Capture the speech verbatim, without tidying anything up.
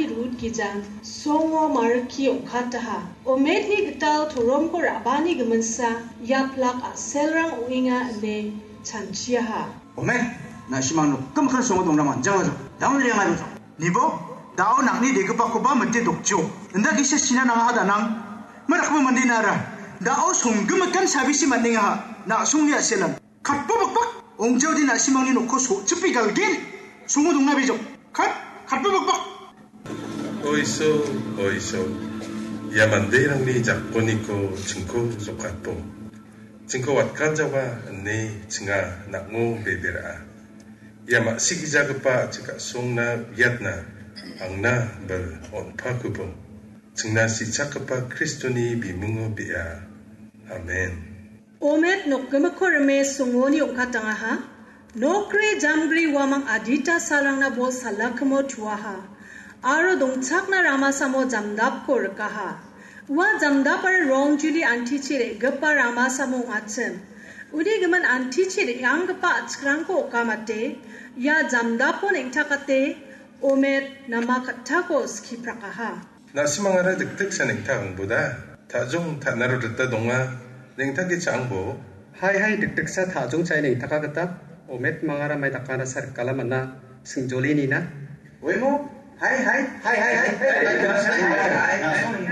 Rut gijang songo marikki ong·kataha. Ometni gital toromko ra·bani giminsa iaplak a·selrang ong·enga ine chanchiaha. Omet, na·simang nokgimikkan songo dongrang manjangajok. Daun riangarojok. Nibo, da·o nang·ni degipakoba mite dokjok. Inda gisa sina nangaha danang. Marakba mandena ara. Da·o songgimikan sabisi man·engaha. Na·songni a·selan. Katba bakbak, ong·jaode na·simangni nokko so·chipe galgen. Songo dongna bijok. Kat, katba bakbak. Oiso, oiso. Ia manderangni jakkoniko chingko jokatbo. Chingko watganjawa ine chinga nang·o bebera. Ia ma·sigijagipa chikasongna uiatna angna bil on·pakubo. Chingna sichakgipa Kristoni bimungo bia. Amen. Omet nokgimikko rime songoni ong·katangaha. Nokgri jamgri uamang adita salrangna bol salakimo tuaha. Aro dongchakna ramasamo jamdapko rikaha. Ua jamdapara rongjuli antichi re·gipa ramasamo ong·achim. Uni gimin antichi re·anggipa a·chikrangko okamate, ia jamdapo neng·takate, Omet nama kattako skiprakaha. Na·simangara dikdiksa neng·takangboda, ta·jong ta·naro rita donga, neng·take cha·angbo. Hai, hai, dikdiksa ta·jong cha·e neng·taka gita, Omet mangara mai dakana sa rikala man·a, singjoli nina. Oimo, hai, hai, hai, hai, hai, hai, hai, hai, hai.